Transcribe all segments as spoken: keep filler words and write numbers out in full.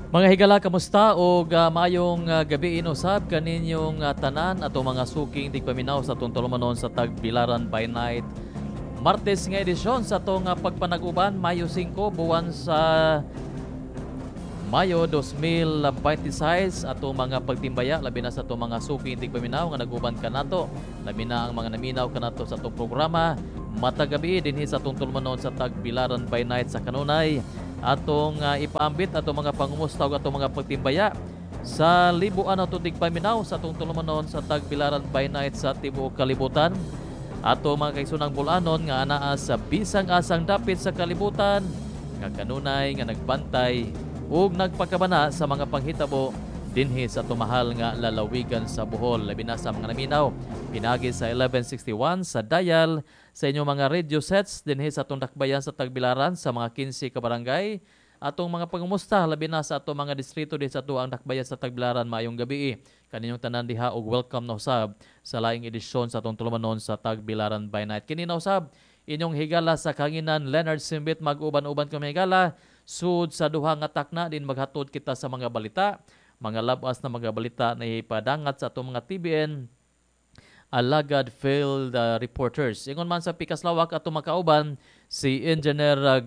Mga higala, kamusta og uh, maayong uh, gabi inusab kaninyong uh, tanan atong mga suking tigpaminaw sa atong tulumanon sa Tagbilaran by Night. Martes nga edisyon sa atong uh, pagpanag-uban, Mayo singko, buwan sa Mayo dalawang libo bente sais. Atong mga pagtimbaya labi na sa atong mga suking tigpaminaw nga naguban kanato, labi na ang mga naminaw kanato sa atong programa matag gabi dinhi sa atong tulumanon sa Tagbilaran by Night. Sa kanunay atong uh, ipaambit atong mga pangumusta ug atong mga pagtimbaya sa libuan atong tigpaminaw sa atong tulumanon sa Tagbilaran by Night sa tibuok kalibutan, ato mga kaigsoonang Bol-anon nga anaa sa bisang asang dapit sa kalibutan nga kanunay nga nagbantay ug nagpakabana sa mga panghitabo dinhi sa tumahal nga lalawigan sa Bohol, labi na sa mga naminaw pinagi sa eleven sixty-one sa dial sa inyong mga radio sets dinhi sa atong dakbayan sa Tagbilaran sa mga kinse ka barangay. Atong mga pangumusta labi na sa atong mga distrito dinhi sa atuang dakbayan sa Tagbilaran. Maayong gabi kaninyong tanan diha ug welcome na usab sa laing edisyon sa atong tulumanon sa Tagbilaran by Night. Kini na usab inyong higala sa kahanginan, Leonard Simbit. Mag-uban-uban kami, higala, sud sa duha nga takna din maghatod kita sa mga balita, mga labas na mga balita na ipadangat sa atong mga T B N alagad field uh, reporters. Ingon man sa pikas lawak, ato makauban si Engineer uh,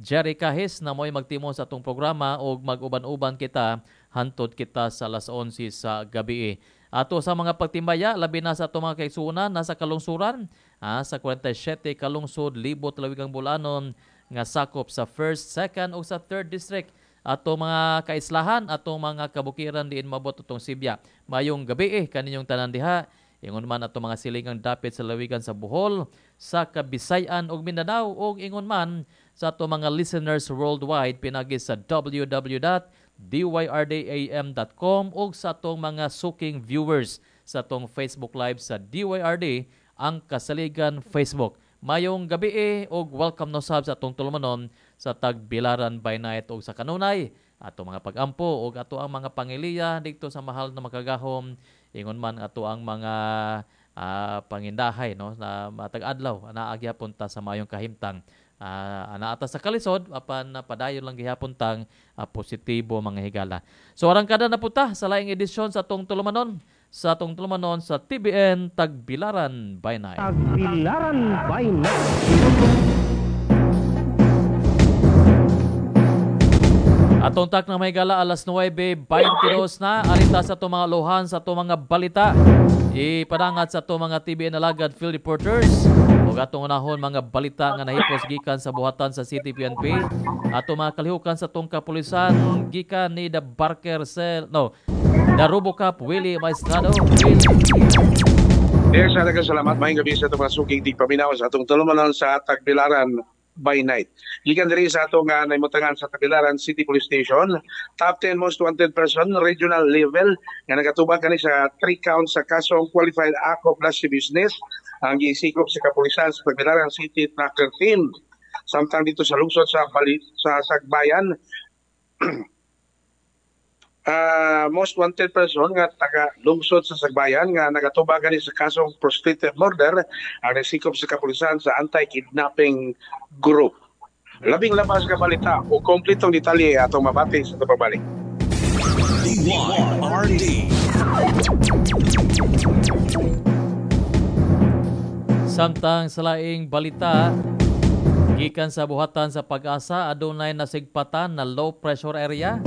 Jerry Kahis na mo'y magtimon sa atong programa ug mag-uban-uban kita hantod kita sa alas onse sa gabi. Ato sa mga pagtimbaya labi na sa atong mga kaigsuonan nasa kalungsuran, ah, sa kuwarenta y siyete kalungsod, libot lawigang Bol-anon nga sakop sa first, second ug sa third district, ato mga kaislahan, atong mga kabukiran diin mabot atong sibya. Mayong gabi eh kaninyong tanan diha. Ingon man ato mga silingang dapit sa lawigan sa Bohol, sa Kabisayan ug Mindanao, ug ingon man sa ato mga listeners worldwide pinagi sa w w w dot D Y R D A M dot com ug sa atong mga suking viewers sa atong Facebook Live sa D Y R D ang Kasaligan Facebook. Mayong gabi eh, ug welcome no sab sa atong tulumanon sa Tagbilaran by Night. Ug sa kanunay ato mga pagampo ug ato ang mga pangiliya didto sa mahal na makagahom, ingon man ato ang mga uh, pangindahay, no, na matag adlaw naa gihapon ta sa maayong kahimtang, uh, anaa ta sa kalisod apan uh, padayon lang gihapon tang uh, positibo, mga higala. So arangkada na puta sa laing edisyon sa atong tulumanon sa atong tulumanon sa T B N Tagbilaran by Night. Tagbilaran by Night. Atong tak na may gala, alas nuwebe bente dos na. Arita sa atong mga lohan sa atong mga balita. Ipadangat sa atong mga T B N alagad field reporters. Ug atong unahon mga balita nga nahipos gikan sa buhatan sa City P N P. Atong mga kalihukan sa atong kapulisan gikan ni The Barker Cell, no, The Robocop Willie Maestrado. Will. Yes, daghang salamat. Maayong gabi sa atong mga suking tigpaminaw sa atong tulumanon sa Tagbilaran by Night. Gikan diri sa atong uh, naimutangan sa Tagbilaran City Police Station, top ten most wanted person regional level nga nagatubang kani sa three counts sa kasong qualified act of lasciviousness ang gisikop sa kapulisan sa Tagbilaran City Tracker Team. Samtang dito sa lungsod sa Bali, sa Sagbayan, uh, most wanted person nga taga lungsod sa Sagbayan nga nagatubang kani sa kasong frustrated murder ang nasikop sa kapulisan sa anti-kidnapping group. Labing labas ka balita o kompletong detalye atong mabati sa pagbalik. D Y R D. Samtang sa laing balita, gikan sa buhatan sa Pag-asa, adunay nasigpatan na low pressure area.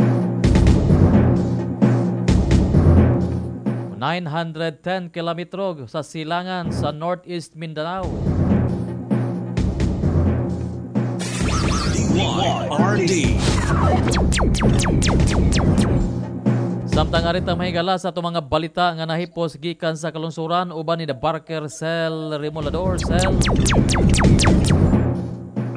nine hundred ten kilometro sa silangan sa Northeast Mindanao. D Y R D. Samtang arita, mahigala, sa atong mga balita nga nahipos gikan sa kalungsuran uban ni The Barker Cell Remolador Cell.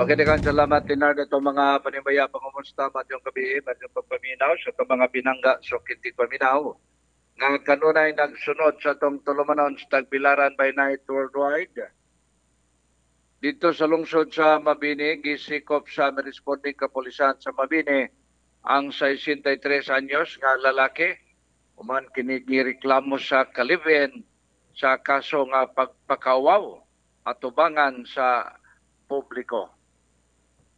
Okay, daghang salamat, Leonard, atong mga panimbaya, pangumusta, maayong gabi, maayong pagpaminaw sa atong mga binangga sa kintig paminaw nga kanunay nagsunod sa atong tulumanon sa Tagbilaran by Night Worldwide. Dito sa lungsod sa Mabini, gisikop sa responding kapulisan sa Mabini ang sesenta y tres anyos nga lalaki human kini gireklamo sa ka-live-in sa kaso nga pagpakawaw atubangan sa publiko.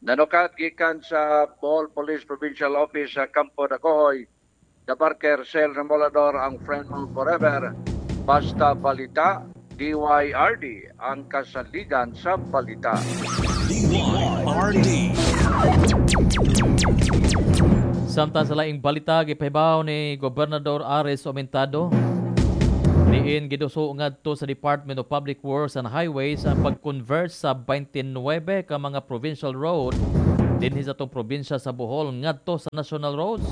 Nanukat gikan sa Bohol Police Provincial Office sa Campo Dagohoy, Dabarker Sel Remolador ang friend mo forever. Basta Balita, D Y R D ang kasaligan sa balita. D Y R D. Samtang sa laing balita, gipahibaw ni Gobernador Aris Aumentado diin giduso ngadto sa Department of Public Works and Highways ang pag-convert sa twenty-nine ka mga provincial road dinhi sa atong probinsya sa Bohol ngadto sa national roads.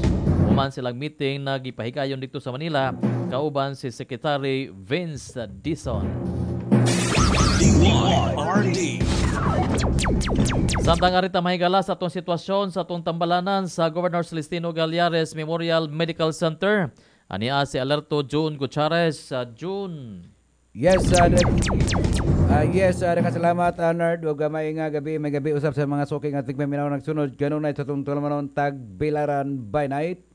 Human silang meeting na gipahigayon dito sa Manila kauban si Secretary Vince Dizon. D Y R D. Samtang arita mahigala sa atong sitwasyon sa atong tambalanan sa Governor Celestino Gallares Memorial Medical Center. Ania si Alerto June Gutierrez. Uh, June. Yes, uh, uh, yes, uh, salamat uh, Nerd. Ug may nga gabi, may gabi usap sa mga suking at tigpaminaw nagsunod kanunay sa atong tulumanon Tagbilaran by Night.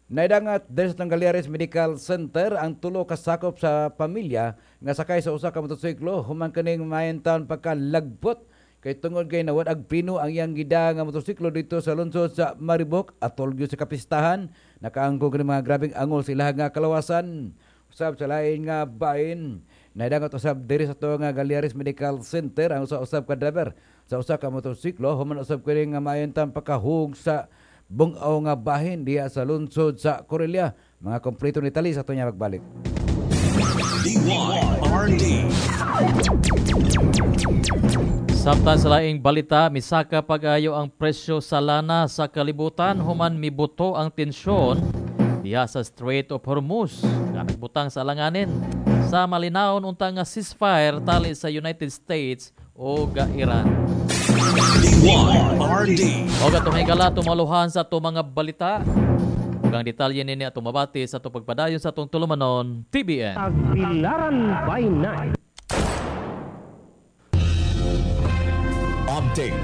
Naidangat diri sa Gallares Medical Center ang tulo ka sakop sa pamilya nga sakay sa usa ka motorsiklo human kaning maayong taon pagkalagpot kay tungod kay nawad ag prino ang iyang gida nga motorsiklo dito sa lungsod sa Maribok atol gyud sa kapistahan. Nakaangko kini mga grabeng angol sa ilaha nga kalawasan. Usab sa lain nga bahin, naidangat usab diri sa to nga Gallares Medical Center ang usa-usab ka driver sa usa ka motorsiklo human usab kini nga maayong taon pagkahug sa bungaw nga bahin diha sa lungsod sa Corelia. Mga kompleto ni Tali sa ato niya magbalik. D Y R D. Samtang sa laing balita, misaka pag-ayo ang presyo sa lana sa kalibutan human mibuto ang tensyon diha sa Strait of Hormuz. Nagbutang sa alanganin sa malinawon unta nga ceasefire tali sa United States o Iran. D Y R D. Og atong higala tumaluhan sa atong mga balita. Ug ang detalye nini atong mabati sa atong pagpadayon sa atong tulumanon T B N. Tagbilaran by Night. Update,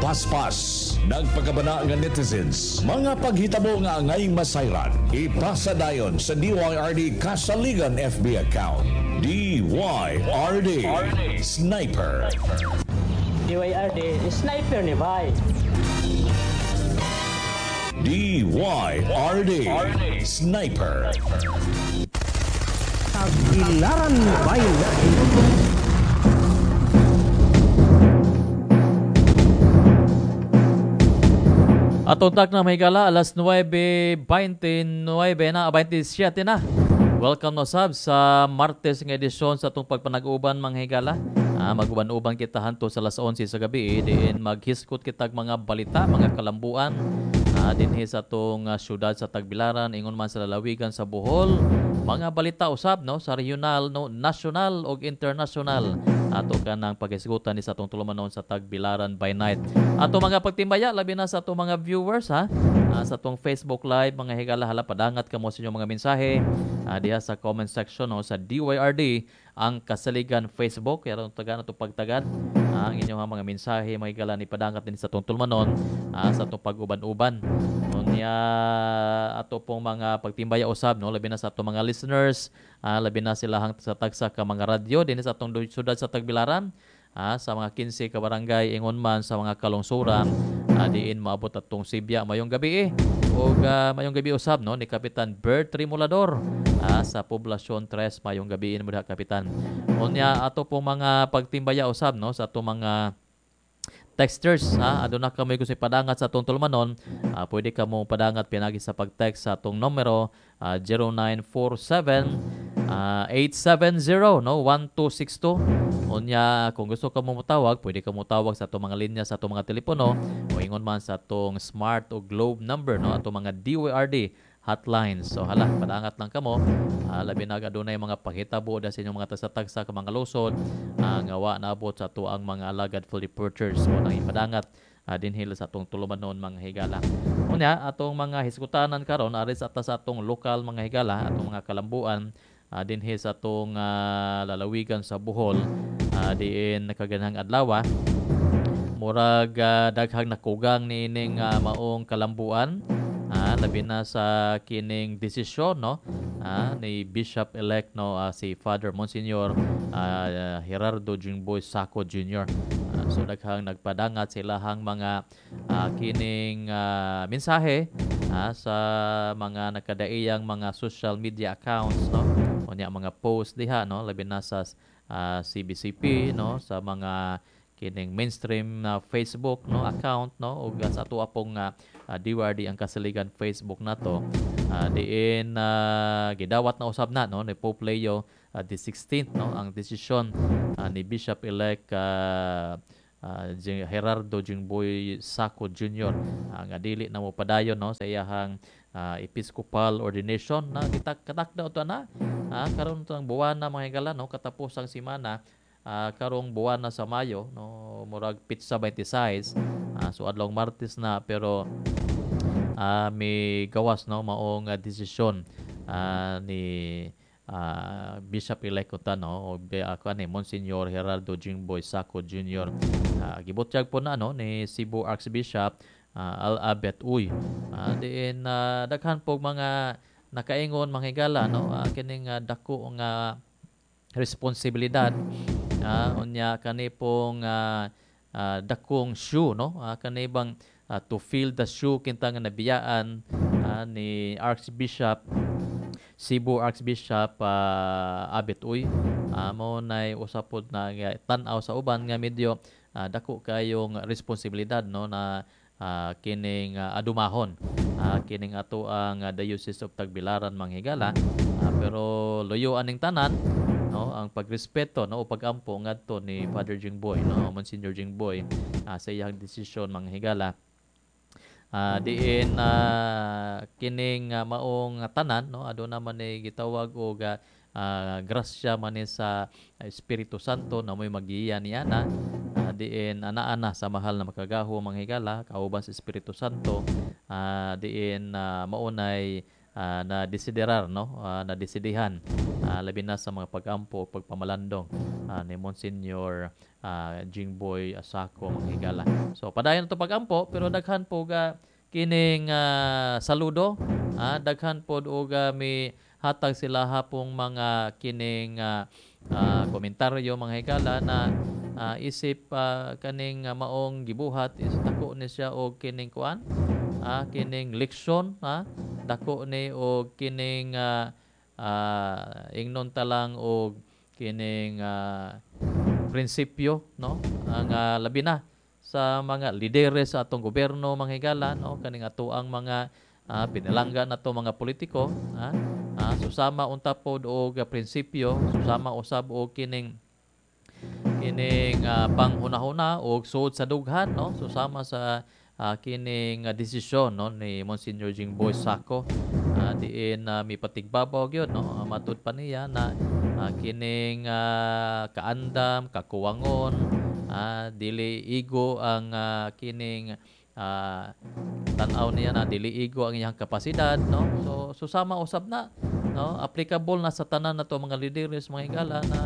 paspas, nagpakabana nga netizens, mga paghitabo nga angay masayran, ipasa dayon sa D Y R D Kasaligan F B account. D Y R D Sniper. D Y R D Sniper ni bay. D Y R D Sniper. Tagbilaran by Night. Atong tak na mahigala, alas nuwebe beinte-nuwebe na, beinte-siyete na. Welcome no sab sa Martes nga edisyon sa atong pagpanag-uban mga higala. Ah, maguban-uban kita hanto sa alas onse sa gabi, diin maghiskot kitag mga balita, mga kalambuan. Ah, dinhi sa atong uh, syudad sa Tagbilaran, ingon man sa lalawigan sa Bohol, mga balita usab no sa regional, no, national og international. Ato ka ng paghisgutan ni sa atong tulumanon sa Tagbilaran by Night. Ato mga pagtimbaya, labi na sa atong mga viewers ha, ah, sa atong Facebook Live, mga higala, hala padangat kamo sa inyong mga mensahe ah, diha sa comment section no, sa D Y R D ang Kasaligan Facebook. Kaya tagan ato pagtagad ah, ang inyong mga mensahe mga higala ni padangat din sa atong tulumanon ah, sa atong pag-uban-uban. Unya ato pong mga pagtimbaya usab no, labi na sa atong mga listeners, ah, labi na sila hang sa tagsa ka mga radyo dinhi sa atong syudad sa Tagbilaran, ah, sa mga kinse ka barangay ingon man sa mga kalungsuran, ah, diin maabot atong Sibya mayong gabi eh. Og uh, mayong gabi usab no ni Kapitan Bert Remolador ah, sa Poblasyon tres mayong gabi mo diha Kapitan. Unya ato pong mga pagtimbaya usab no sa atong mga texters ha, aduna kami kung padangat sa atong tulumanon, uh, pwede ka mo padangat pinagi sa pag-text sa atong numero uh, zero nine four seven, eight seven zero no one two six two. Unya kung gusto ka mo motawag, pwede ka motawag sa atong mga linya sa atong mga telepono o ingon man sa atong Smart o Globe number no atong mga D Y R D hotlines. So hala, padangat lang kamo. Uh, labi na adunay mga panghitabo da sa inyong mga tagsa-tagsa ka mga lusod uh, nga wa naabot sa ato ang mga alagad full departures. So nang ipadangat uh, dinhi sa atong tulumanon mga higala. Unya atong mga hisgutanan karon aris ata sa atong lokal mga higala, atong mga kalambuan uh, dinhi sa atong uh, lalawigan sa Bohol, uh, diin nakaganhang adlaw murag uh, daghang nakugang niining uh, maong kalambuan. Ah, labi na sa kining desisyon no ah, ni Bishop elect no uh, si Father Monsignor uh, Gerardo Jingboy Saco Junior Ah, So daghang nagpadangat silahang mga uh, kining uh, mensahe uh, sa mga nakadaiyang mga social media accounts, no, unya mga post diha, no, labi na sa uh, C B C P, no, sa mga kining mainstream na Facebook, no, account, no, ug sa ato apong uh, uh, D Y R D ang Kasaligan Facebook nato, uh, diin uh, gidawat na usab na, no, ni Pope Leo uh, the sixteenth, no, ang desisyon uh, ni Bishop elect uh, uh, Gerardo Jingboy Saco Junior uh, nga dili na mo padayon, no, sa iyahang uh, episcopal ordination na gitak katakda to na uh, karon to ang buwan na, mga higala, no, katapos ang semana, uh, karong buwan na sa Mayo, no, murag petsa twenty-six, uh, so adlong Martes na, pero uh, may gawas, no, maong uh, desisyon uh, ni uh, Bishop elect ta, no, o ako ani Monsignor Gerardo Jingboy Saco Junior uh, Gibutyag po na, no, ni Cebu Archbishop uh, Al Abet Uy, uh, diin uh, daghan po mga nakaingon, mga higala, no, uh, kining uh, dako nga responsibilidad, uh, unya kani pong uh, uh, dakong shoe, no, uh, kani bang uh, to fill the shoe kinta nga nabiyaan uh, ni Archbishop Cebu Archbishop uh, Abet Uy, uh, mao nay usa pod na tan-aw sa uban nga medyo uh, dako kayong responsibilidad, no, na uh, kining uh, adumahon uh, kining ato ang uh, Diocese of Tagbilaran, mga higala, uh, pero luyo aning tanan, no, ang pagrespeto, no, o pagampo ngadto ni Father Jingboy, no, Monsignor Jingboy, uh, sa iyang desisyon, mga higala, uh, diin uh, kining uh, maong tanan, no, aduna man ni gitawag og uh, uh, grasya man ni sa Espiritu Santo na mo'y magiya niya na uh, diin ana-ana sa mahal na makagaho, mga higala, kauban sa Espiritu Santo, uh, diin uh, maunay uh, na desiderar, no, uh, na desidihan, uh, labi na sa mga pagampo o pagpamalandong uh, ni Monsignor uh, Jingboy Asako, mga higala. So padayon to pagampo, pero daghan po ga kining uh, saludo, uh, daghan pod og uh, mi hatag sila hapong mga kining uh, uh, komentaryo, mga higala, na uh, isip uh, kaning uh, maong gibuhat is dako ni siya og kining kuan, uh, kining leksyon, ha, dako ni og kining uh, uh, ingnon ta lang og kining uh, prinsipyo, no, ang uh, labi na sa mga lideres sa atong gobyerno, mga higala, no, kaning ato ang mga uh, pinalangga nato mga politiko, ha, uh, susama unta pod og uh, prinsipyo, susama usab og kining kining uh, panghunahuna og suod sa dughan, no, susama sa uh, kining uh, desisyon, no, ni Monsignor Jingboy Saco, uh, diin uh, mipatigbabaw gyud, no, uh, matud pa niya na uh, kining uh, kaandam, kakuwangon, uh, dili igo ang uh, kining uh, tan-aw niya na dili igo ang iyang kapasidad, no. So susama usab na, no, applicable na sa tanan nato mga lideres, mga higala, na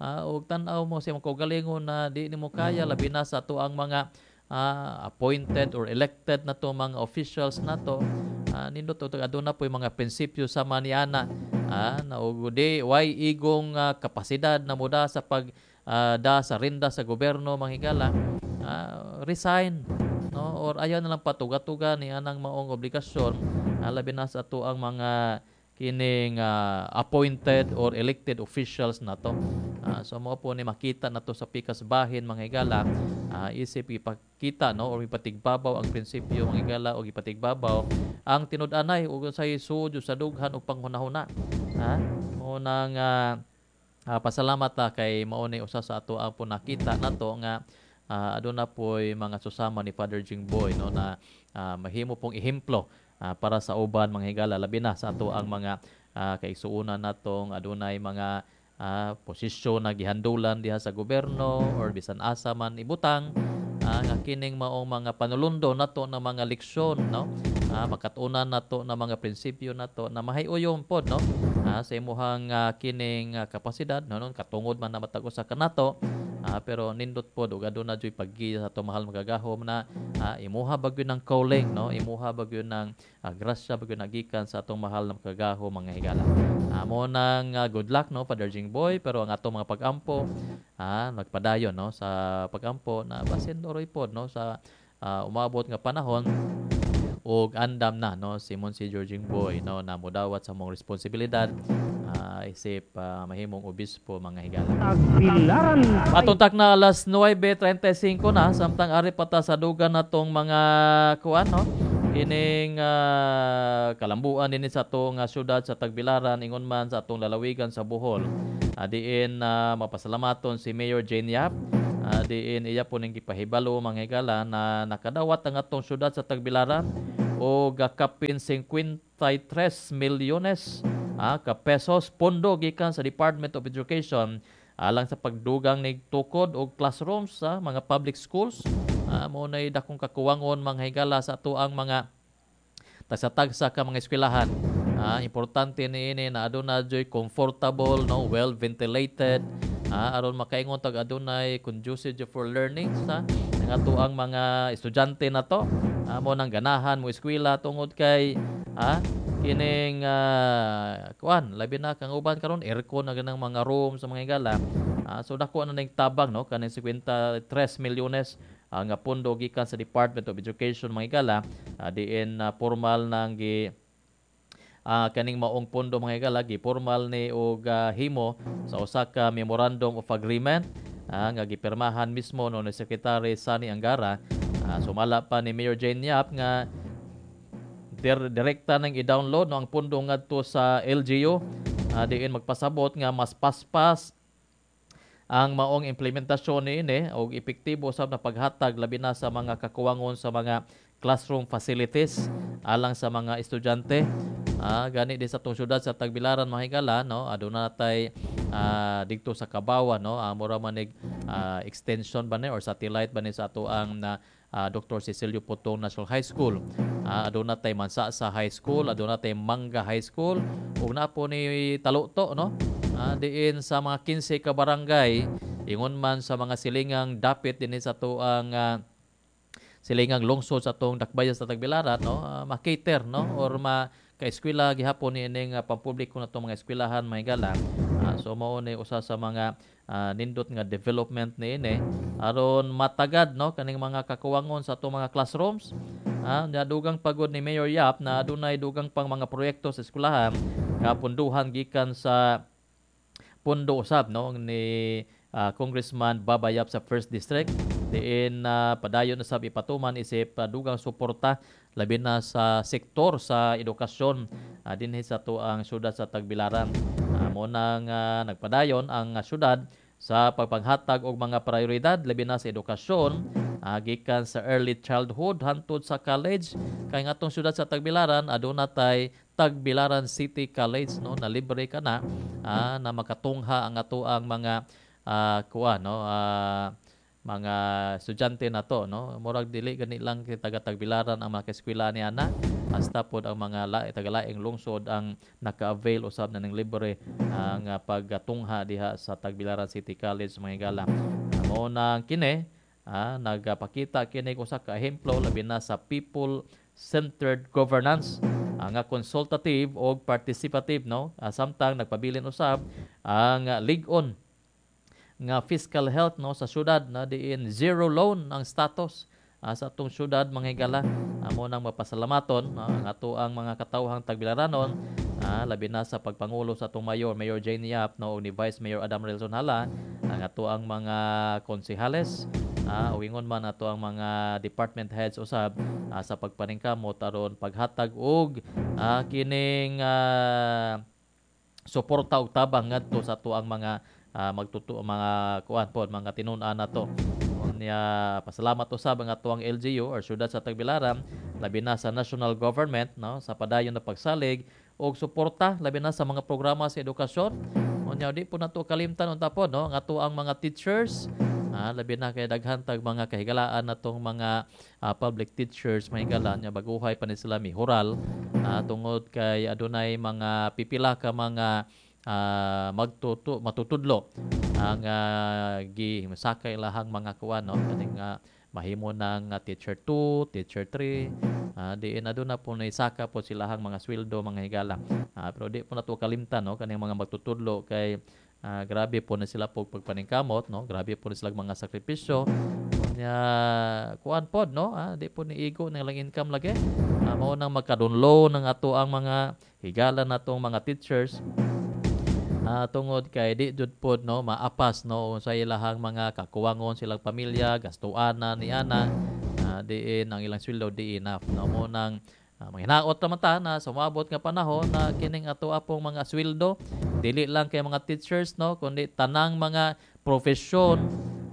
uh, og tan-aw mo sa imong kaugalingon na di nimo kaya, labi na sa ato ang mga uh, appointed or elected na to mga officials nato, uh, nindot og aduna po yung mga prinsipyo sa maniana, uh, na og di way igong uh, kapasidad na muda sa pag uh, da sa rinda sa gobyerno, mga higala, uh, resign, no, or ayaw na lang patuga-tuga ni anang maong obligasyon, uh, labi na sa ato ang mga kining uh, appointed or elected officials nato. Uh, so mao po ni makita nato sa pikas bahin, mga higala, uh, isip ipakita, no, or ipatigbabaw ang prinsipyo, mga higala, o ipatigbabaw ang tinud-anay ug say suod sa dughan ug panghunahuna. Ha? Mao nang uh, uh, pasalamat ta kay mao ni usa sa ato ang po nakita nato nga uh, aduna po'y mga susama ni Father Jingboy, no, na uh, mahimo pong ehemplo uh, para sa uban, mga higala, labi na sa ato ang mga uh, kaigsuonan natong adunay mga uh, posisyon na gihandulan diha sa gobyerno or bisan asa man ibutang, uh, nga kining maong mga panulundo nato na mga leksyon, no, uh, makatunan nato na mga prinsipyo nato na mahiuyon pod, no, uh, ah, sa imuhang ah, kining ah, kapasidad, no, no katungod man na matag usa kanato, ah, pero nindot pod ug aduna juy paggiya sa atong mahal makagagahom na ah, imuha ba gyud ng calling, no, imuha ba gyud ng ah, grasya ba gyud nagikan sa atong mahal na makagagahom, mga higala. Ah, mo nang ah, good luck, no, Father Jingboy, pero ang atong mga pag-ampo, ah, nagpadayon, no, sa pag-ampo na basin oroy pod, no, sa ah, umabot nga panahon og andam na, no, si Monsignor Jingboy, no, na modawat sa mong responsibilidad ah, isip ah, mahimong obispo, mga higala. Tagbilaran by Patuntak na alas nuwebe trentay singko na samtang ari pa ta sa dugan natong mga kuan, no, kining ah, kalambuan dinhi sa atong ah, syudad sa Tagbilaran, ingon man sa atong lalawigan sa Bohol. uh, diin na mapasalamaton si Mayor Jane Yap, uh, diin iya po ning gipahibalo, mga higala, na nakadawat ang atong syudad sa Tagbilaran og kapin singkwenta y tres milyones ah, ka pesos pondo gikan sa Department of Education alang sa pagdugang nig tukod og classrooms sa mga public schools. Ah, mo nay dakong kakuwangon, mga higala, sa ato ang mga tagsa-tagsa ka mga eskwelahan. Ah, importante niini na aduna joy comfortable, no, well ventilated, ah, aron makaingon tag adunay conducive for learning sa ang ato ang mga estudyante nato. Ah, mo nang ganahan mo eskwela tungod kay ah, kining ah, kuan, labi na kang uban karon aircon na ganang mga room sa mga higala. Ah, so dako na ning tabang, no, kaning singkwenta y tres milyones ah, nga pondo gikan sa Department of Education, mga higala, ah, diin uh, formal nang gi ah, kaning maong pondo, mga higala, gi formal ni og ah, himo sa usa ka memorandum of agreement ah, nga gipirmahan mismo, no, ni Secretary Sonny Angara. Ah, sumala pa ni Mayor Jane Yap nga dir- direkta nang i-download, no, ang pondo ngadto sa L G U, ah, diin magpasabot nga mas paspas ang maong implementasyon niini og epektibo sab na paghatag labi na sa mga kakuwangon sa mga classroom facilities alang sa mga estudyante. Ah, gani di sa atong syudad sa Tagbilaran, mga higala, no, aduna tay ah, didto sa Kabawa, no, ah, mura man nig ah, extension ba ni or satellite ba ni sa ato ang na ah, Doctor Cecilio Putong National High School. Ah, aduna tay Mansasa High School, aduna tay Manga High School ug naa po ni Taluto, no. Ah, diin sa mga kinse ka barangay ingon man sa mga silingang dapit dinhi sa atuang ah, silingang lungsod sa atong dakbayan sa Tagbilaran, no, uh, ma-cater, no, or ma kaeskwela gihapon ni ining uh, pampubliko na itong mga eskwelahan, mga higala. Ah, so mao ni usa sa mga ah, nindot nga development niini aron matagad, no, kaning mga kakuwangon sa atong mga classrooms. Ah, uh, dugang pagod ni Mayor Yap na adunay dugang pang mga proyekto sa eskwelahan nga punduhan gikan sa pondo usab, no, ni ah, Congressman Baba Yap sa First District, diin na padayon na sab ipatuman isip uh, dugang suporta labi na sa sektor sa edukasyon uh, dinhi sa atuang syudad sa Tagbilaran. Uh, mo nang uh, nagpadayon ang uh, syudad sa pagpanghatag og mga prioridad labi na sa edukasyon, uh, gikan sa early childhood hantod sa college, kay nga atong syudad sa Tagbilaran aduna tay Tagbilaran City College, no, na libre ka na uh, na makatungha ang atoang mga uh, kuan, no, uh, mga estudyante na to, no. Murag dili gani lang kay taga Tagbilaran ang mga eskwela ni ana, hasta pod ang mga la, taga-laing lungsod ang naka-avail usab na ng libre ang uh, pagtungha diha sa Tagbilaran City College, mga higala. Mao nang kini ah, nagapakita kini usa ka ehemplo labi na sa people centered governance uh, nga consultative og participative, no, uh, samtang nagpabilin usab ang uh, lig-on nga fiscal health, no, sa syudad na diin zero loan ang status uh, sa atong syudad, mga higala. Amo nang mapasalamaton uh, ang ato ang mga katawhang Tagbilaranon, uh, labi na sa pagpangulo sa atong mayor, Mayor Jane Yap, no, ni Vice Mayor Adam Relson Hala, ang ato ang mga konsehales, uh, o ingon man ato ang mga department heads usab uh, sa pagpaningkamot aron paghatag og uh, kining uh, suporta og tabang ngadto sa ato ang mga uh, magtutu mga kuan pod, mga tinun-an nato. Unya pasalamat usab ang atuang L G U or syudad sa Tagbilaran labi na sa national government, no, sa padayon na pagsalig og suporta labi na sa mga programa sa edukasyon. Unya di po nato kalimtan unta po, no, ang atuang mga teachers. Ah, labi na kay daghan tag mga kahigalaan natong mga ah, public teachers, mga higala nya baguhay pa ni sila mihural ah, tungod kay adunay mga pipila ka mga ah, magtutu matutudlo ang uh, gi sakay ilahang mga kuan, no, kaning uh, mahimo ng uh, teacher two, teacher three, uh, diin aduna po na saka po silahang mga sweldo, mga higala. Uh, pero di po nato kalimtan, no, kaning mga magtutudlo kay uh, grabe po na sila po pagpaningkamot, no, grabe po na sila mga sakripisyo nya kuan pod, no, ah, di po ni igo ng ilang income lagi. Uh, mao nang magkadunlo ng ato ang mga higala natong mga teachers uh, tungod kay di jud pod, no, maapas, no, sa ilahang mga kakuwangon silang pamilya, gastuana ni ana, uh, diin ang ilang sweldo di enough, no. Mo nang uh, manghinaot naman ta na sumabot nga panahon na kining ato apong mga sweldo, dili lang kay mga teachers, no, kundi tanang mga profesyon,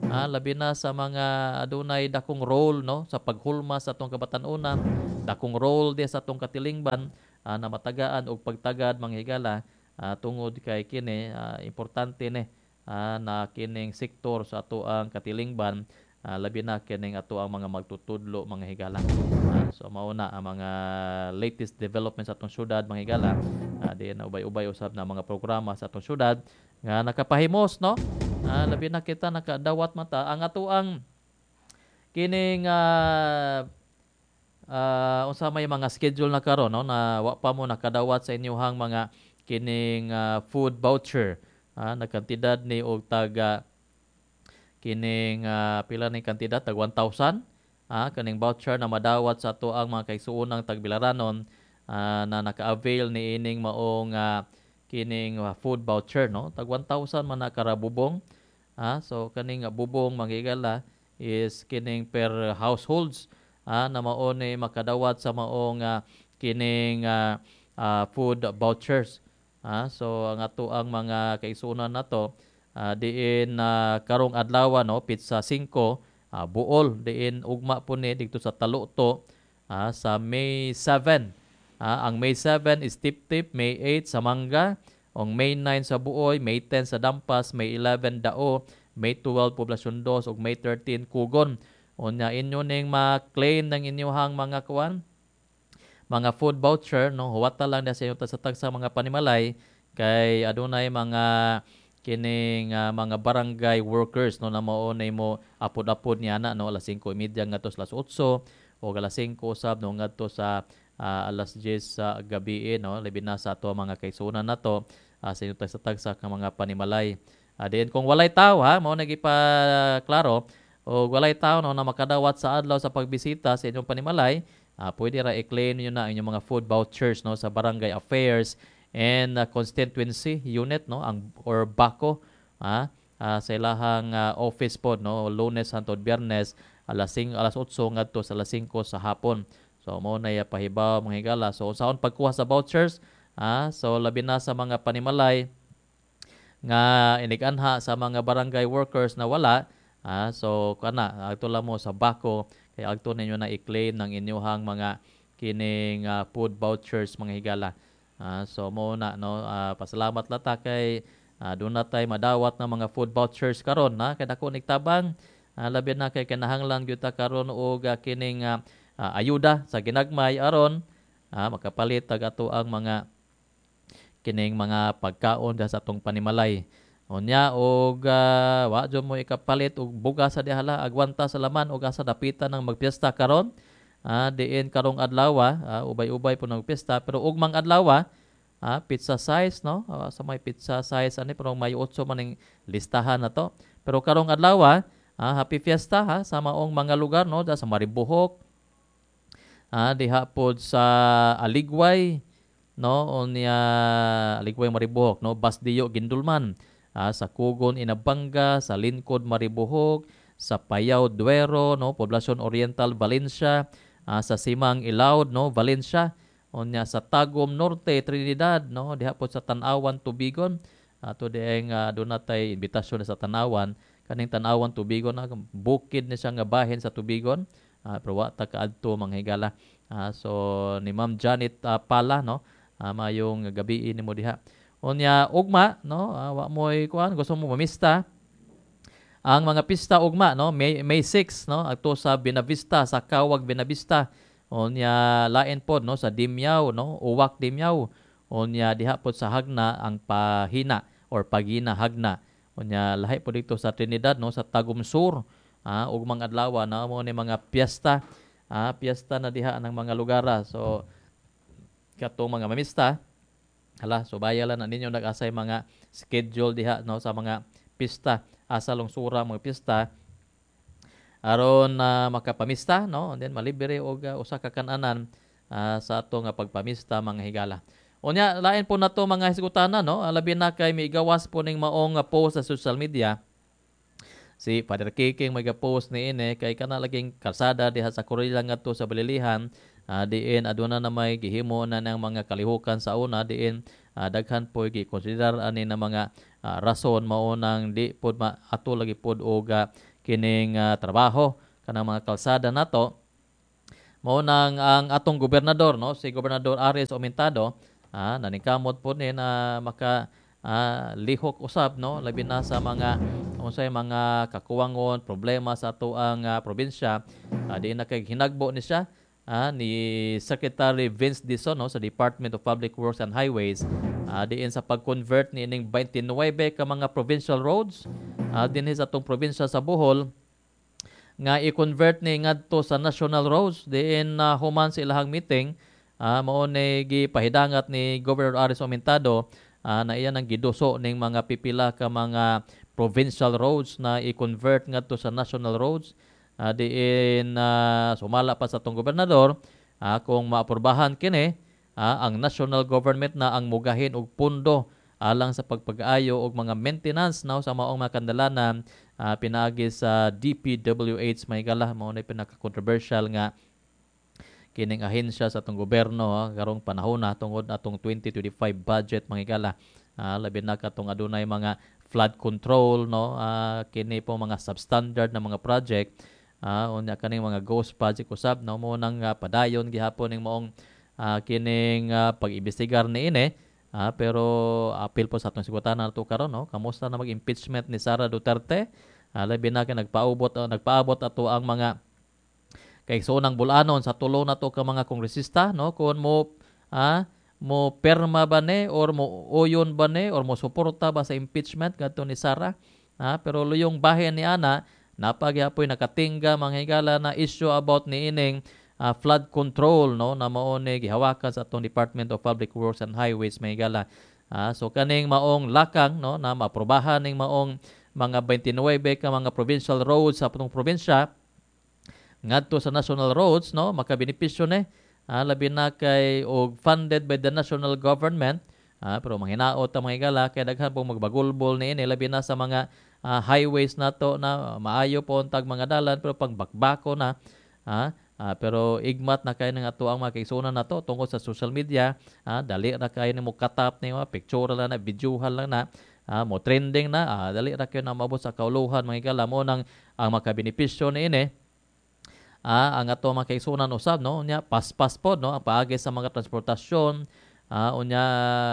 ah, labi na sa mga adunay dakong role, no, sa paghulma sa atong kabatan-unan, dakong role di sa atong katilingban, ah, na matagaan og pagtagad, mga higala, uh, tungod kay kini uh, importante ni uh, na kining sektor sa ato ang katilingban, uh, labi na kining ato ang mga magtutudlo, mga higala. Uh, so mao na ang mga latest development sa atong syudad, mga higala, uh, di na ubay-ubay usab na mga programa sa atong syudad nga nakapahimos, no. Uh, labi na kita nakadawat mata ang ato ang kining uh, uh, unsa may mga schedule na karon, no, na wa pa mo nakadawat sa inyuhang mga kining uh, food voucher. Ah, nagkantidad ni og taga kining uh, pila ni kantidad, tag one thousand, ah, kaning voucher na madawat sa ato ang mga kaigsuonang tagbilaranon, ah, na naka-avail ni ining maong uh, kining uh, food voucher, no, tag one thousand man na karabubong. Ah, so kaning uh, bubong, mga higala, is kining per households, ah, na mao ni makadawat sa maong uh, kining uh, uh, food vouchers. Ah, so ang ato ang mga kaigsuonan nato, uh, diin uh, karong adlaw, no, pizza singko, uh, buol diin ugma po ni didto sa Taluto, uh, sa May seven. Uh, ang May seven is tip-tip, May eight sa Mangga, ang May nine sa Buoy, May ten sa Dampas, May eleven Dao, May twelve Poblacion dos ug May thirteen Kugon. Unya inyo ning ma-claim ng inyuhang mga kuan, mga food voucher, no, huwata lang na sa inyo sa tagsa mga panimalay kay adunay mga kining uh, mga barangay workers, no, na mao na mo apod-apod niya na, no, alas singko treinta ngadto sa alas otso o alas singko usab, no, ngadto sa uh, alas diyes sa gabi, no, labi na sa ato mga kaigsuonan nato, uh, sa inyo sa tagsa ka mga panimalay. Uh, diin kung walay tawo, ha, mao nagipa klaro o walay tawo, no, na makadawat sa adlaw sa pagbisita sa inyong panimalay, Uh, pwede ra i-claim niyo na inyong mga food vouchers, no, sa Barangay Affairs and uh, Constituency Unit, no, ang or BACO, ah, uh, sa ilahang uh, office po, no, Lunes hangtod Biyernes alas singko, alas otso ngadto sa alas singko sa hapon. So mao na pahibaw, mga higala. So unsaon pagkuha sa vouchers, ah, so labi na sa mga panimalay nga iniganha sa mga barangay workers na wala, ah, so kana adto lang mo sa BACO kay agto ninyo na i-claim ng inyuhang mga kining uh, food vouchers, mga higala. Uh, so mo na, no, uh, pasalamat lata kay uh, doon na tay madawat ng mga food vouchers karon na kay dako nigtabang, uh, labi na kay kinahanglan gyud ta karon og uh, kining uh, uh, ayuda sa ginagmay aron uh, makapalit tag ato ang mga kining mga pagkaon sa atong panimalay. Unya og uh, wa jud mo ikapalit og bugas sa dihala, agwanta sa laman og asa dapitan ng magpiesta karon. Ah, diin karong adlaw, ah, ubay-ubay po ng piyesta, pero ugmang adlaw, ah, pizza size, no, uh, sa may pizza size ani pero may otso man ning listahan na to. Pero karong adlaw, ah, happy fiesta ha sa maong mga lugar, no, da sa Maribojoc, ah, diha pod sa Aligway, no, unya Aligway Maribojoc, no, Basdiyo Gindulman. Ah, sa Kugon Inabanga, sa Linkod Maribojoc, sa Payaw Duero, no, Poblacion Oriental Valencia, ah, sa Simang Ilaud, no, Valencia, unya sa Tagum Norte Trinidad, no, diha po sa Tan-awan Tubigon. Ato dieng uh, doon natay imbitasyon sa Tan-awan, kaning Tan-awan Tubigon na bukid ni siya nga bahin sa Tubigon, ah, pero wa ta kaadto, mga higala. Ah, so ni Ma'am Janet uh, Pala, no, ah, mayong gabi nimo diha. Unya ugma, no, uh, wa moy kuan gusto mo mamista, Ang mga pista ugma, no, May May six, no, adto sa Binavista, sa Kawag Binavista. Unya lain pod, no, sa Dimiao, no, Uwak Dimiao. Unya diha pod sa Jagna ang Pahina or Pagina Jagna. Unya lahi pod dito sa Trinidad, no, sa Tagum Sur. Ah, ugmang adlaw na mo ni mga piyesta, ah, piyesta na diha ng mga lugar. So katong mga mamista, hala, so baya lang na ninyo nag-asay mga schedule diha, no, sa mga pista, asa lungsura mga pista aron na uh, makapamista, no, and then malibre og uh, usa ka kananan uh, sa ato nga pagpamista, mga higala. Unya lain po nato mga hisgutanan, no, labi na kay migawas po ning maong post sa social media si Father Kiking. May post ni ini kay kana laging kalsada diha sa Corilla ngadto sa Balilihan, uh, diin aduna na may gihimo na ng mga kalihukan sa una, diin uh, daghan po gi-consider ani na mga uh, rason mao nang di pod maato lagi pod og uh, kining uh, trabaho kanang mga kalsada nato. Mao nang ang atong gobernador, no, si Gobernador Aris Aumentado, ah, naningkamot po ni na maka ah, lihok usab, no, labi na sa mga unsay mga kakuwangon, problema sa atoang uh, probinsya. uh, di na kay hinagbo ni siya ah, ni Secretary Vince Dizon, no, sa Department of Public Works and Highways, uh, diin sa pag-convert ni ining twenty-nine ka mga provincial roads uh, dinhi sa atong probinsya sa Bohol nga i-convert ni ngadto sa national roads, diin uh, human sa ilahang meeting, uh, mao ni gipahidangat ni Governor Aris Aumentado uh, na iyan ang giduso ning mga pipila ka mga provincial roads na i-convert ngadto sa national roads, uh, diin uh, sumala pa sa atong gobernador, uh, kung maaprubahan kini, uh, ang national government na ang mugahin og pundo alang sa pagpag-ayo og mga maintenance, no, sa maong mga kandalanan uh, pinaagi sa D P W H, may gala. Mao na pinaka-controversial nga kining ahensya sa atong gobyerno uh, karong panahon na tungod atong twenty twenty-five budget, mga higala, uh, labi na katong adunay mga flood control, no, uh, kini po mga substandard na mga project, uh, unya kaning mga ghost project usab, no. Mo nang uh, padayon gihapon ning maong uh, kining uh, pag-imbestigar niini. Ah, pero apil po sa atong sigutanan nato karon, no. Kamusta na mag-impeachment ni Sara Duterte? Ah, labi na kay nagpaubot uh, nagpaabot ato ang mga kaigsoonang bulanon sa tulo na to ka mga kongresista, no, kung mo ah, mo perma ba ni or mo uyon ba ni or mo suporta ba sa impeachment ngadto ni Sara. Ah, pero luyong bahin ni ana napagyapoy nakatingga, mga higala, na issue about ni ining uh, flood control, no, na mao ni gihawakan sa atong Department of Public Works and Highways, may gala. Uh, so kaning maong lakang, no, na maaprubahan ning maong mga twenty-nine ka mga provincial roads sa atong probinsya ngadto sa national roads, no, makabenepisyo ni, uh, labi na kay og funded by the national government. uh, pero manghinaot ang mga higala kay daghan pong magbagulbol niini, labi na sa mga uh, highways nato na maayo po tag mga dalan pero pagbakbako na. uh, Uh, pero igmat na kayo ng ato ang mga kaigsuonan nato tungkol sa social media. Uh, dali ra kayo ni mo katap ni mga picture lang na, videohan lang na, uh, mo trending na, uh, dali ra kayo na maabot sa kauluhan, mga higala. Mo nang ang makabenepisyo niini uh, ang ato mga kaigsuonan usab, no, unya paspas pod, no, ang paagi sa mga transportasyon. uh, unya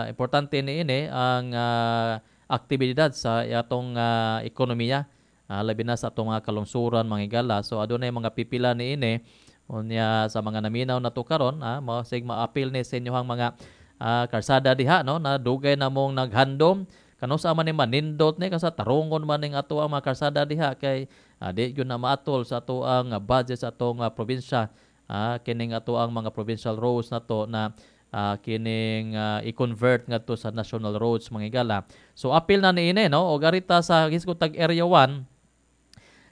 importante niini ang uh, aktibidad sa atong uh, ekonomiya, uh, labi na sa atong mga kalungsuran, mga higala. So adunay mga pipila niini. Unya sa mga naminaw na to karon, ah, masig maapil ni sa inyohang mga ah, karsada diha, no, na dugay na mong naghandom kano sa man ni manindot ni kasi tarungon man ning ato ang mga karsada diha kay ah, di gyud na maatol sa ato ang budget sa atong uh, probinsya, ah, kining ato ang mga provincial roads nato na uh, kining uh, i-convert ngadto sa national roads, mga higala. So apil na niini, no, og arita sa hisgutag Area one,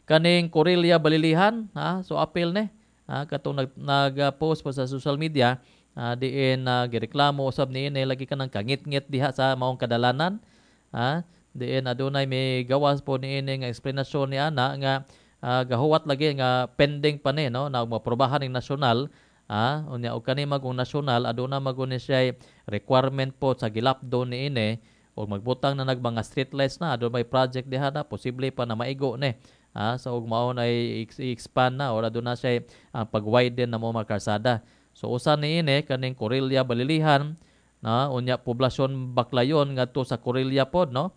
kaning Corilla Balilihan, ha, so apil ni. Ah, katong nag nag-post po sa social media, ah, diin uh, gireklamo usab niini lagi kanang kangit-ngit diha sa maong kadalanan. Ah, diin adunay may gawas po niini nga eksplanasyon ni ana nga uh, gahuwat lagi nga pending pa ni, no, na maprobahan ning nasyonal. Ah, unya og kani magong nasyonal, aduna magun ni siya requirement po sa gilapdo niini og magbutang na nag mga street lights na adunay may project diha na posible pa na maigo ni. Ah, so ug mao na i-expand na or aduna siya ang uh, pag-widen na mo mga karsada. So usa niini kaning Corilla Balilihan na, unya poblasyon Baclayon ngadto sa Corilla pod, no.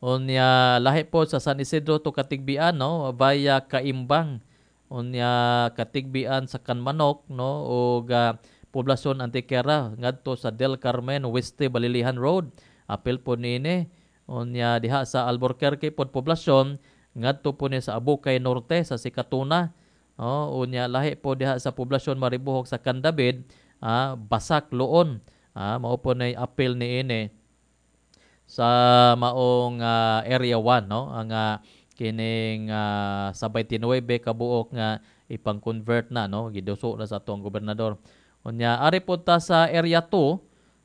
Unya lahi po sa San Isidro to Katigbian, no, via Kaimbang. Unya Katigbian sa Kanmanok, no, ug uh, Poblasyon Antequera ngadto sa Del Carmen Weste Balilihan Road. Apil po niini. Unya diha sa Alburquerque pod poblasyon ngadto po ni sa Abukay Norte sa Sikatuna. Oh, unya lahi po diha sa poblasyon Maribuhok sa Candabid, ah, Basak Loon. Ah, mao po nay apil niini sa maong uh, Area one, no, ang uh, kining uh, sa twenty-nine kabuok nga ipang-convert na, no, giduso na sa atong gobernador. Unya ari po ta sa Area two,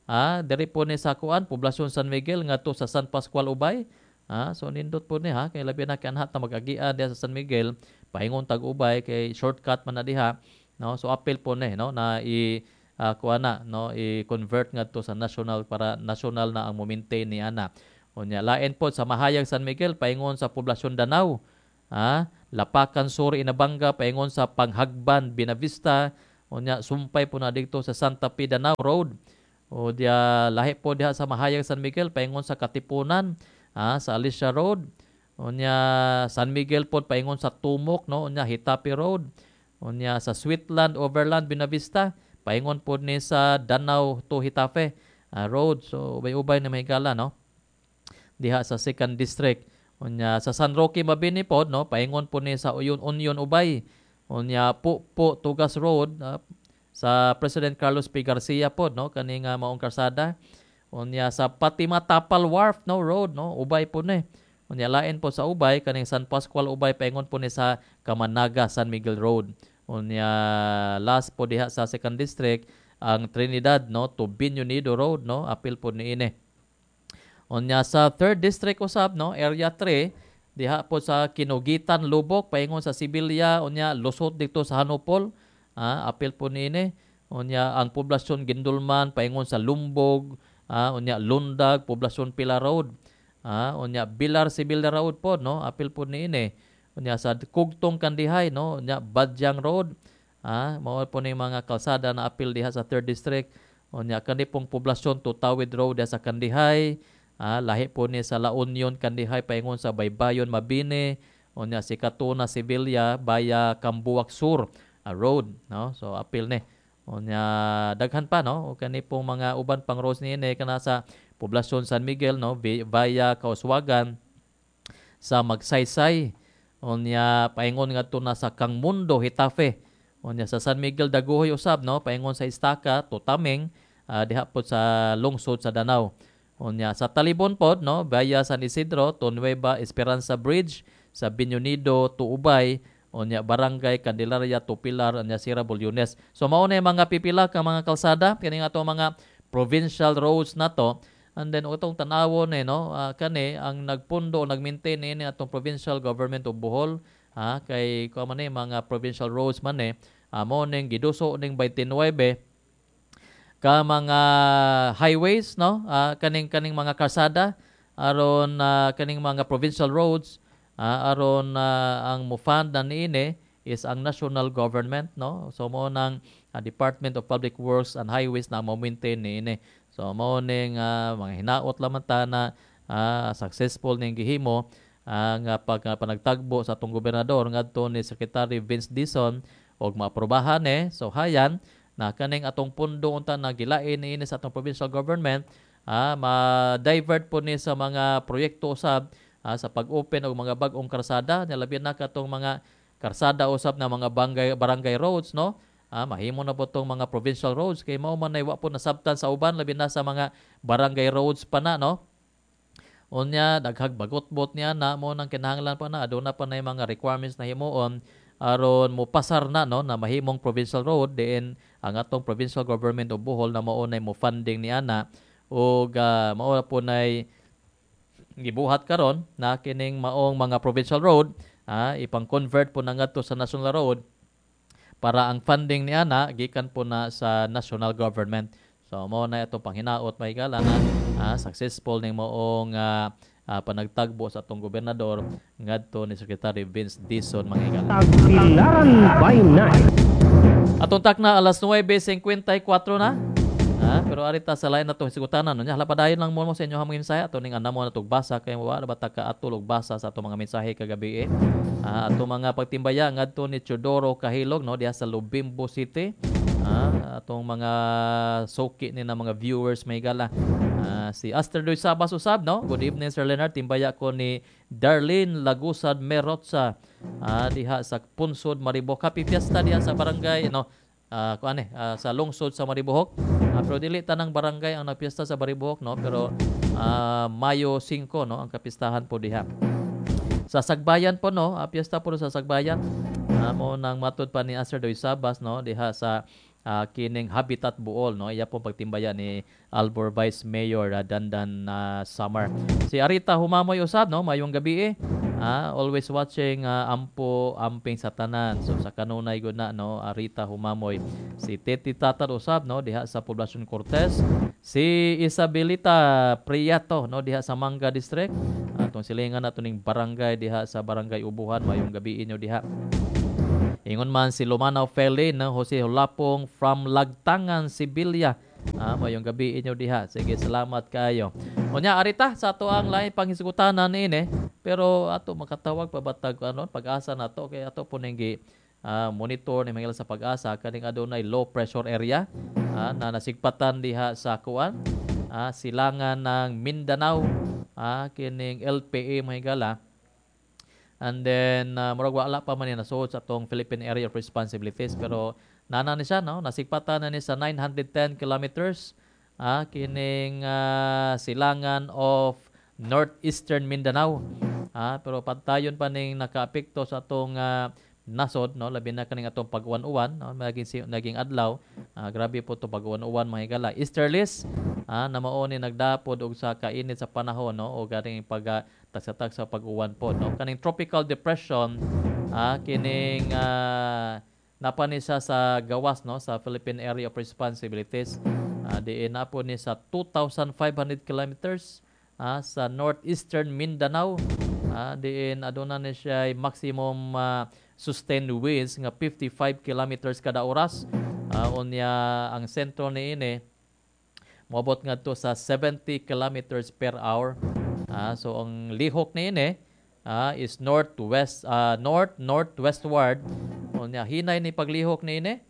ah, diri po ni sa kuan poblasyon San Miguel ngadto sa San Pascual Ubay. Ah, so nindot po ni ha, kay labi na kanhat na mag-agian diha sa San Miguel paingon tag Ubay kay shortcut man na diha, no. So apil po ni, no, na i Uh, kuha na, no, i-convert ngadto sa national para national na ang mo-maintain ni ana. Unya lain po sa Mahayag San Miguel paingon sa poblasyon Danao, ah, Lapakan Sur Inabanga paingon sa Panghagban Binavista. Unya sumpay po na didto sa Santa Fe Danao Road. O dia lahi po diha sa Mahayag San Miguel paingon sa Katipunan, ah, sa Alicia Road. Unya San Miguel po paingon sa Tumok, no, unya Hitapi Road. Unya sa Sweetland Overland Binavista paingon po ni sa Danao to Hitafe uh, Road. So ubay-ubay na may gala, no, diha sa second District. Unya sa San Roque Mabini po, no, paingon po ni sa Uyon Union Ubay. Unya po po Tugas Road, uh, sa President Carlos P. Garcia po, no, kaning uh, maong karsada. Unya sa Fatima Tapal Wharf, no, Road, no, Ubay po ni. Unya lain po sa Ubay kaning San Pascual Ubay paingon po ni sa Kamanaga San Miguel Road. Unya last po diha sa second District ang Trinidad, no, to Binyonido Road, no, apil po niini. Unya sa third District usab, no, Area three diha po sa Kinugitan Lubok paingon sa Sibilya. Unya lusot dito sa Hanopol, ah, apil po niini. Unya ang poblasyon Gindulman paingon sa Lumbog, ah, unya Lundag poblasyon Pila Road, ah, unya Bilar Sibilya Road po, no, apil po niini. Unya sa Kugtong Kandihay, no, unya Badyang Road, ah, mao po ni mga kalsada na apil diha sa third District. Unya kani pong poblasyon Tutawid Road diha sa Kandihay, ah, lahi po ni sa La Union Kandihay paingon sa Baybayon Mabini. Unya si Katuna Sevilla via Kambuwak Sur ah, Road, no. So apil ni. Unya daghan pa, no, o kani pong mga uban pang roads niini kana sa poblasyon San Miguel, no, via Kauswagan sa Magsaysay. Unya paingon ngadto na sa Kangmundo Hitafe. Unya sa San Miguel Daguhoy usab, no, paingon sa Istaka Tutaming, uh, diha pod sa lungsod sa Danao. Unya sa Talibon pod, no, via San Isidro to Nueva Esperanza Bridge sa Binyonido to Ubay. Unya Barangay Candelaria to Pilar, unya Sierra Bulyones. So mao na mga pipila ka mga kalsada kini nga ato mga provincial roads nato. And then utong tanawon eh, no, uh, kani ang nagpundo o nagmaintain niini atong provincial government of Bohol, ah, kay kuan man eh, mga provincial roads man eh, uh, mo ning giduso ning twenty-nine ka mga highways, no, uh, kaning kaning mga kalsada aron uh, kaning mga provincial roads, uh, aron uh, ang mo-fund na niini is ang national government, no. So mo nang uh, Department of Public Works and Highways na mo-maintain niini. So mao ning uh, mga hinaot lamang ta na uh, successful ning gihimo ang uh, pag uh, panagtagbo sa atong gobernador ngadto ni Secretary Vince Dizon og maaprobahan eh. So hayan na kaning atong pundo unta na gilain niini sa atong provincial government, ah, ma-divert po ni sa mga proyekto usab, ah, sa pag-open og mga bag-ong karsada, labi na katong mga karsada usab na mga barangay, barangay roads, no. Ah, mahimo na po tong mga provincial roads kay mao man nay wa po nasabtan sa uban labi na sa mga barangay roads pa na, no. Unya daghag bagot-bot niya na mo nang kinahanglan pa na aduna pa nay mga requirements na himuon aron mo pasar na, no, na mahimong provincial road diin ang atong provincial government of Bohol na mao nay mo funding ni ana ug uh, mao po nay gibuhat karon na kining maong mga provincial road, ah, ipang-convert po na ngadto sa national road para ang funding ni ana gikan po na sa national government. So mao na itong panghinaot mahigala na ah, successful ning maong uh, uh, panagtagbo sa atong gobernador ngadto ni Secretary Vince Dizon mga higala. Tagbilaran by night. Atong takna alas nuwebe singkwenta y kwatro na. Ha? pero arita sa lain na to hisgutanan no nya padayon lang mo mo sa inyo mga mensahe ato ning anamo na tug basa kay wa ba ta kaatol og basa sa ato mga mensahe kagabi eh. Ah, ato mga pagtimbaya ngadto ni Teodoro Kahilog no diha sa Lubimbo City. Ah, atong mga suki ni na mga viewers may gala. Ah, si Aster Doy Sabas usab no. Good evening Sir Leonard, timbaya ko ni Darlene Lagusad Merotsa ah, diha sa Punsod Maribojoc. Happy Fiesta diha sa barangay no. Ah, kuan eh, ah, sa lungsod sa Maribojoc. Ah, pero dili tanang barangay ang nagpiesta sa Maribojoc no, pero ah, Mayo singko no ang kapistahan po diha. Sa Sagbayan po no, ah, piyesta po sa Sagbayan. Ah, mo nang matud pa ni Aster Doy Sabas no diha sa ah, kining Habitat Buol no, iya po pagtimbaya ni Albor Vice Mayor ah, Dandan ah, Samar. Si Arita Humamoy usab no, mayong gabi eh. Ah, always watching ah, ampo amping sa tanan. So sa kanunay gud na no, Arita Humamoy. Si Teti Tatar usab no diha sa Poblacion Cortes. Si Isabelita Priato no diha sa Manga District. Atong silingan nato ning barangay diha sa Barangay Ubuhan, mayong gabi inyo diha. Ingon man si Lumanaw Feli no, Jose Hulapong from Lagtangan, Sibilia. Ah, mayong gabi inyo diha. Sige, salamat kayo. Unya arita sa ato ang lain panghisgutanan niini, pero ato makatawag pa batag ano pag-asa nato kay ato po ning gi ah, monitor ni mga sa pag-asa kaning adunay low pressure area ah, na nasigpatan diha sa kuan ah, silangan ng Mindanao ah, kining L P A mga higala. And then uh, murag wala pa man ni nasuod sa atong Philippine Area of Responsibilities, pero nana ni siya no, nasigpatan na ni sa nine hundred ten kilometers ah, kining uh, silangan of northeastern Mindanao. Ah, pero patayon pa ning nakaapekto sa atong uh, nasod no, labi na kaning atong pag-uwan-uwan no, naging si-, naging adlaw ah, grabe po to pag-uwan-uwan mga higala. Easterlies ah, na mao ni nagdapod og sa kainit sa panahon no, o ganing pag uh, tagsa-tagsa pag-uwan po no. Kaning tropical depression ah, kining uh, napa ni siya sa gawas no sa Philippine Area of Responsibilities. Ah, diin na po ni sa two thousand five hundred kilometers ah, sa northeastern Mindanao. Ah, diin aduna ni siya maximum uh, sustained winds nga fifty-five kilometers kada oras. Ah, unya ang sentro niini moabot ngadto sa seventy kilometers per hour. Ah, so ang lihok niini ah, is northwest, ah, north northwestward. Unya hinay ni paglihok niini.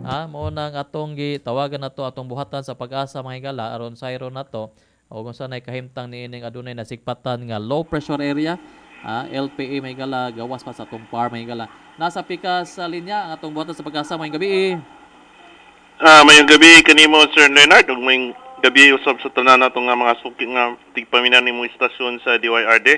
Ah, mao nang atong gitawagan nato atong buhatan sa pag-asa mga higala aron sayro nato o kung saan ay kahimtang niining adunay nasigpatan nga low pressure area ah, L P A mga higala gawas pa sa atong par mga higala. Nasa pikas sa linya ang atong buhatan sa pag-asa mayong gabi. Ah, mayong gabi kanimo Sir Leonard ug mayong gabi usab sa tanan nato nga mga suki nga tigpaminaw nimo istasyon sa D Y R D.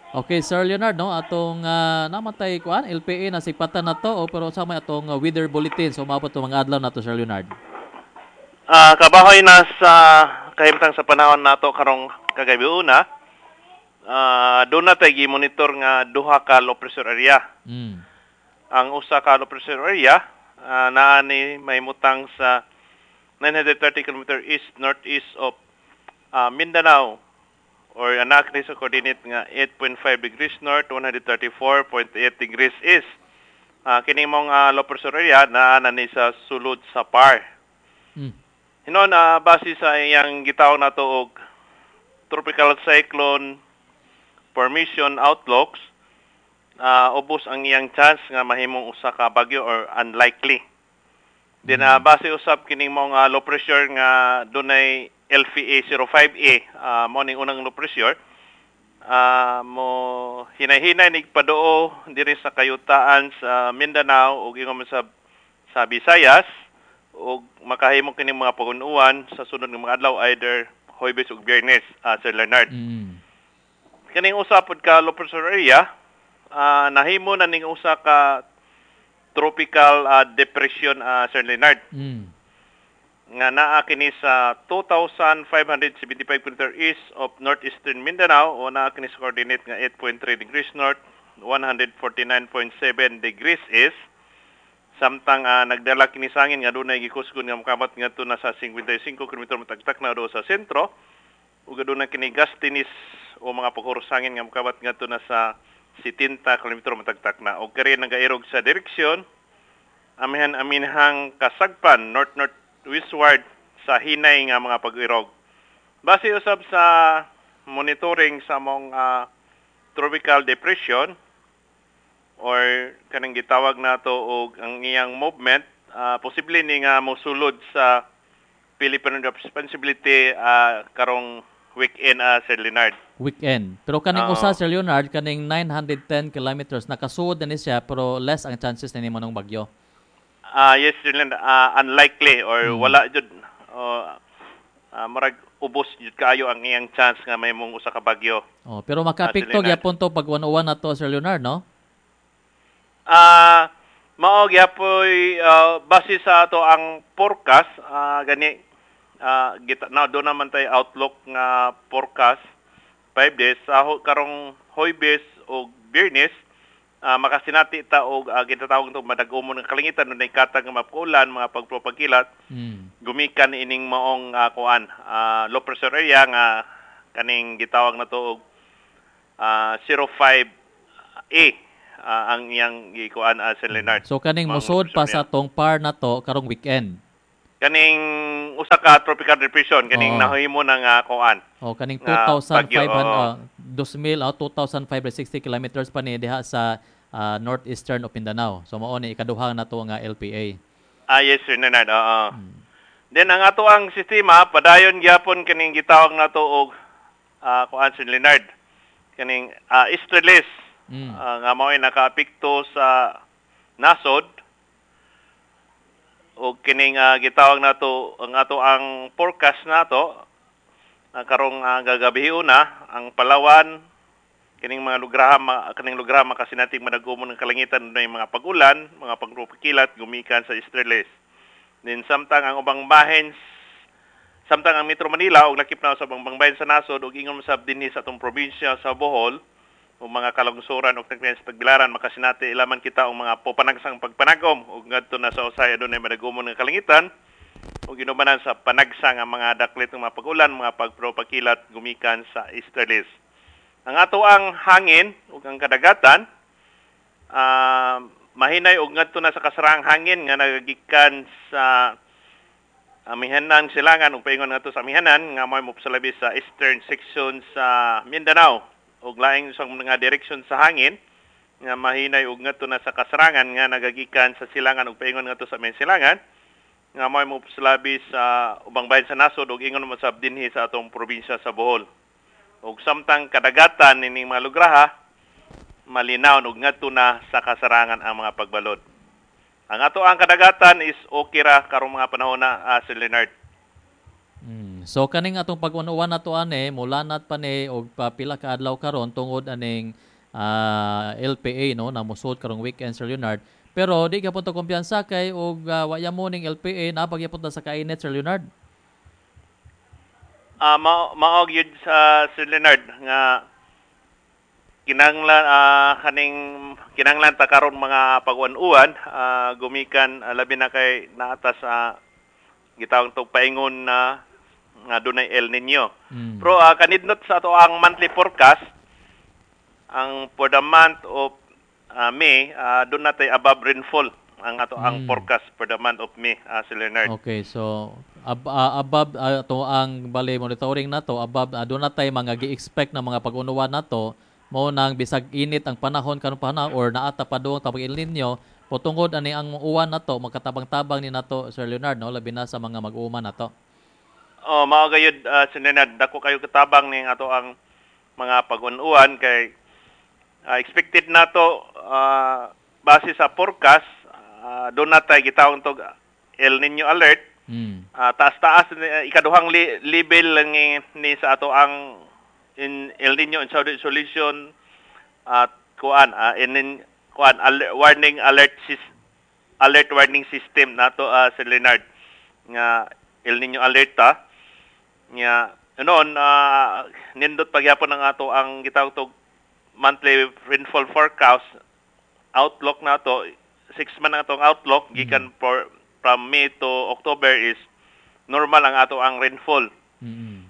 Okay Sir Leonard no, atong uh, namatay kuan L P A nasigpatan nato o pero sa may atong uh, weather bulletin so maabot to mga adlaw nato Sir Leonard. Ah, kabahoy na sa kahimtang sa panahon nato karong kagabi una. Ah, doon na tay gi-monitor nga duha ka low pressure area. Mm. Ang usa ka low pressure area uh, naa ni mahimutang sa nine hundred thirty kilometers east northeast of uh, Mindanao or anak ni sa coordinate nga eight point five degrees north, one hundred thirty-four point eight degrees east. Uh, kini mong uh, low pressure area naa na ni sa sulod sa P A R. Mm. Hinon uh, base sa iyang gitawag nato og tropical cyclone formation outlooks, uh, ubos ang iyang chance nga mahimong usa ka bagyo or unlikely. Then uh, base usab kining mong uh, low pressure nga dunay L P A zero five A, uh, mo ning unang low pressure, uh, mo hinay-hinay nigpadoo diri sa kayutaan sa Mindanao ug ingon man sa, sa Visayas ug makahimo kining mga pagun-uwan sa sunod nga mga adlaw either Huwebes ug Biyernes, uh, Sir Leonard. Mm. Kining usa pod ka low pressure area, uh, nahimo na ning usa ka tropical uh, depression, uh, Sir Leonard. Mm. Nga naa kini sa two thousand five hundred seventy-five kilometers east of northeastern Mindanao o naa kini sa coordinate nga eight point three degrees north, one hundred forty-nine point seven degrees east. Samtang uh, nagdala kini sa hangin nga dunay gikusgon nga mokamat ngadto na sa fifty-five kilometro matagtak na do sa sentro ug adunay kini gastinis o mga paghuros hangin nga mokamat ngadto na sa seventy kilometro matagtak na. Og kari nagairog sa direksyon amihan aminhang kasagpan north northwestward sa hinay nga mga pag-irog. Base usab sa monitoring sa among ah, tropical depression or kanang gitawag nato og ang iyang movement, ah, posible ni nga mosulod sa Philippine Responsibility ah, karong weekend, ah, Sir Leonard. Weekend. Pero kaning Oo. usa, Sir Leonard, kaning nine hundred ten kilometers nakasuod na ni siya, pero less ang chances na nimo ng bagyo. Ah, yes, Sir Leonard, ah, unlikely or Mm. wala jud, oh, ah, murag ubos jud kaayo ang iyang chance nga mahimong usa ka bagyo. Oh, pero makaapekto Leonard. gyapon to pag one oh one na to, Sir Leonard, no? Ah, mao gyapoy ah, base sa ato ang forecast, ah, gani ah, gita na do naman tay outlook nga forecast five days sa ho, karong Huwebes o Biyernes, ah, makasinati ta og uh, gitatawag to madag-umon ng kalangitan, dunay katag nga mapulan, mga pagpropagkilat Mm. gumikan ining maong uh, kuan, ah, low pressure area nga kaning gitawag na to og ah, zero five A ah, ang iyang gikuan, uh, Sir Leonard. So kaning Maong mosud pa pressure sa atong par na to karong weekend. Kaning usa ka tropical depression kaning Oo. nahimo na nga kuan. O kaning Nga two thousand five hundred bagyo, oo. uh, two thousand oh, two thousand five hundred sixty kilometers pa ni diha sa ah, northeastern of Mindanao. So mao ni ikaduha na to nga L P A. Ah, yes, Sir Leonard. Oo. Then ang ato ang sistema padayon gyapon kaning gitawag nato og ah, kuan, Sir Leonard, kaning uh, easterlies Mm. ah, nga mao'y nakaapekto sa nasod og kining ah, gitawag nato ang ato ang forecast nato uh, karong uh, gagabihi una ang Palawan, kining mga lugar ma, kaning lugar makasinating madagumon ng kalangitan, dunay mga pag-ulan, mga pagrupakilat gumikan sa easterlies. Then samtang ang ubang bahin, samtang ang Metro Manila og lakip na sa ubang bahin sa nasod ug ingon sab dinhi sa atong probinsya sa Bohol ug mga kalungsuran ug tagpian sa Tagbilaran, makasinati ilaman kita og mga pupanagsang pagpanagom ug ngadto na sa usay adunay madagumon ng kalangitan ug ginubanan sa panagsa nga mga daklit ng mga pag-ulan, mga pagpropakilat gumikan sa easterlies. Ang ato ang hangin ug ang kadagatan, ah, mahinay og ngadto na sa kasarang hangin nga nagagikan sa amihanan silangan ug paingon ngadto sa amihanan nga may mopsalabi sa eastern section sa Mindanao ug laing sa mga direksyon sa hangin nga mahinay og ngadto na sa kasarangan nga nagagikan sa silangan ug paingon ngadto sa amihan silangan nga may mopsalabi sa ubang bahin sa nasod ug ingon mo sab dinhi sa atong probinsya sa Bohol. Ug samtang kadagatan nining mga lugraha malinaw ug ngadto na sa kasarangan ang mga pagbalod. Ang ato ang kadagatan is okay ra karong mga panahon na, ah, Sir Leonard. Mm. So kaning atong pag-unuan nato ane mulanat pa ni og pila ka adlaw karon tungod aning ah, L P A, no, na mosud karong weekend, Sir Leonard. Pero di gyapon to kumpiyansa kay og uh, wa mo ning L P A na pagyapon ta sa kainit, Sir Leonard. Ah, mao mao gyud sa Sir Leonard nga kinanglan ah, kaning kinanglan ta karon mga pag-uwan-uwan, ah, gumikan ah, labi na kay naata sa gitawag tog paingon na nga dunay El Nino. Mm. Pero uh, kanidnot sa ato ang monthly forecast, ang for the month of ah, May, uh, doon natay above rainfall ang ato ang Mm. forecast for the month of May, ah, Sir Leonard. Okay, so ab- ah, above ah, to ang bale monitoring nato above, uh, doon natay mga gi-expect na mga pag-unuan nato mo nang bisag init ang panahon karon pa na or naata pa doon tapos El Nino po, tungod ani ang uwan nato magkatabang-tabang ni nato, Sir Leonard, no, labi na sa mga mag-uuma nato. Oh, mao gayud, uh, Sir Leonard, dako kayo katabang ning ato ang mga pag-uwan kay ah, expected nato, ah, base sa forecast, uh, doon natay gitawag tog El Nino alert. Mm. Ah, taas-taas ni- ikaduhang li- level lang ni, ni sa ato ang in El Nino in Saudi Solution at kuan, ah, in, in kuan alert, warning alert sys, alert warning system nato, ah, Sir Leonard, nga El Nino alert ta nga noon, ah, nindot pagyapon ang ato ang gitawag tog monthly rainfall forecast outlook nato, six month ang atong outlook gikan for from May to October is normal ang ato ang rainfall Mm.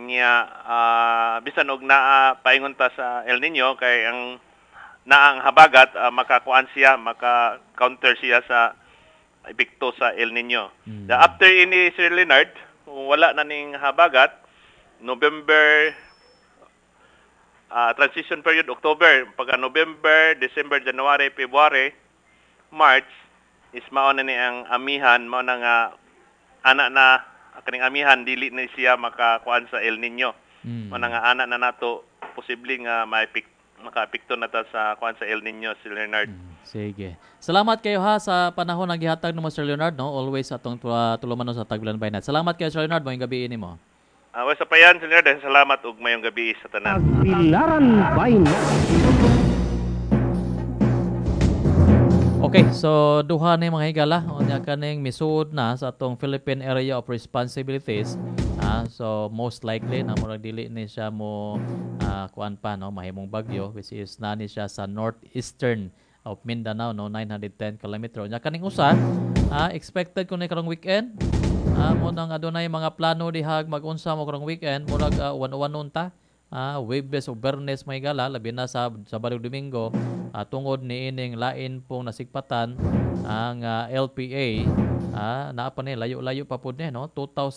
niya, ah, bisan og naa paingon ta sa El Nino kay ang naa ang habagat, ah, makakuan siya, maka counter siya sa epekto sa El Nino. Mm. The after ini, Sir Leonard, Kung wala na ning habagat, November, ah, transition period October, pagka November, December, January, February, March is mao na ni ang amihan, mao na nga ana na kaning amihan dili na siya makakuan sa El Nino. Mm. Mao na nga ana na nato posible nga maepek makaapekto na ta sa kuan sa El Nino si Leonard. Sige. Salamat kayo ha sa panahon nga gihatag nimo, Sir Leonard, no? Always atong uh, tulumanon sa Tagbilaran by Night. Salamat kayo, Sir Leonard, maayong gabi nimo. Uh, sa payan, Sir Leonard, salamat ug mayong gabi sa tanan. Tagbilaran by Night. Okay, so duha ni, mga higala, unya kaning misuod na sa atong Philippine Area of Responsibilities. Ah, so most likely na murag dili ni siya mo ah, kuan pa, no, mahimong bagyo, which is na ni siya sa northeastern of Mindanao, no, nine hundred ten kilometro. Nya kaning usa, ah, expected kun ni karong weekend. Ah, mo nang adunay mga plano dihag magunsa mo karong weekend, murag uh, one-one ta. Ah, Webes o Bernes, mga higala, labi na sa Sabado, Domingo, ah, tungod ni ining lain pong nasigpatan ang ah, L P A, ah, naa pa ni layo-layo pa pud ni, no, two thousand